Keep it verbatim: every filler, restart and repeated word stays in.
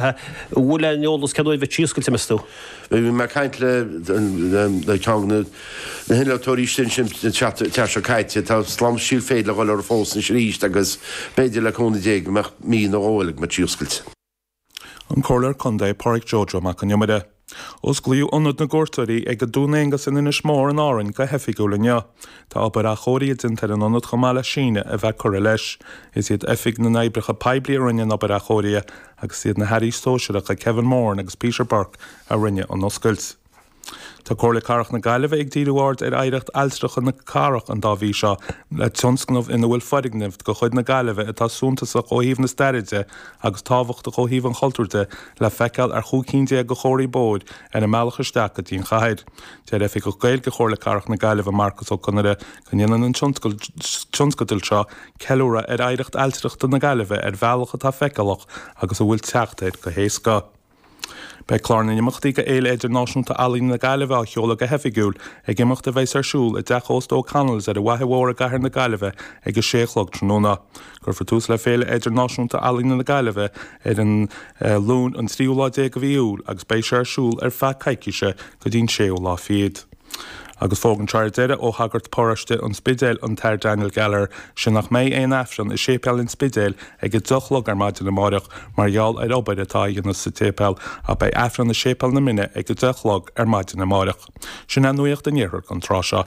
An bhfuil aon eolas cén uair a bheidh sí oscailte, meas tú? Bhí mé ag caint le le ceann de na hinnealtóirí sin sin an tseachtain seo caite. Tá slám seilféid le dhul orthu fós anois arís agus b'fhéidir le cúnamh Dé go mbeadh mí nó dhó eile go mbeadh sí oscailte. An Comhairleoir Contae Pádraig Joe Joe Mac an Iomaire. Osclaíodh Ionad na gCuairteoirí ag Dún Aonghasa in Inis Mór in Árainn go hoifigiúil inniu. Tá obair athchóirithe déanta ar an ionad chomh maith le síneadh a bheith curtha leis. Is iad Oifig na nOibreacha Poiblí a rinne an obair athchóirithe agus is iad na hAirí Sóisearacha Kevin Moran agus Peter Burke a rinne an oscailt. Tá Comhairle Cathrach na Gaillimhe ag díriú aird ar oidhreacht ailtireachta na cathrach an dá mhí seo le tionscnamh ina bhfuil foirgnimh de chuid na Gaillimhe atá suntasach ó thaobh na staire de agus tábhachtach ó thaobh an chultúir de le feiceáil ar chúig cinn déag de chomharthaí bóthair ar an mbealach isteach go dtí an chathair. Deir Oifigeach Gaeilge Chomhairle Cathrach na Gaillimhe Marcas Ó Conaire go ndéanann an tionscadal seo ceiliúradh ar oidhreacht ailtireachta na Gaillimhe ar bhealach atá feiceálach agus a bhfuil teacht air go héasca. Beidh clár na n-imeachtaí do Fhéile Idirnáisiúnta Ealaíne na Gaillimhe á sheoladh go hoifigiúil ag imeacht a bheas ar siúl i dTeach Ósta O'Connell's ar an bhFaiche Mhór i gCathair na Gaillimhe ag a sé a chlog tráthnóna. Cuirfear tús le Féile Idirnáisiúnta Ealaíne na Gaillimhe ar an Luan an tríú lá déag de mhí Iúil agus beidh sé ar siúl ar feadh coicíse go dtí an séú lá fichead. Agus fógra anseo ar deireadh ó shagart paróiste an Spidéil, an tAthair Daniel Gallagher, sin nach mbeidh aon Aifreann i Séipéal an Spidéil ag a deich a chlog ar maidin amáireach mar gheall ar obair atá á dhéanamh sa tséipéal ach beidh Aifreann i Séipéal na Mine ag a deich a chlog ar maidin amáireach. Sin é nuacht an Iarthair don tráth seo.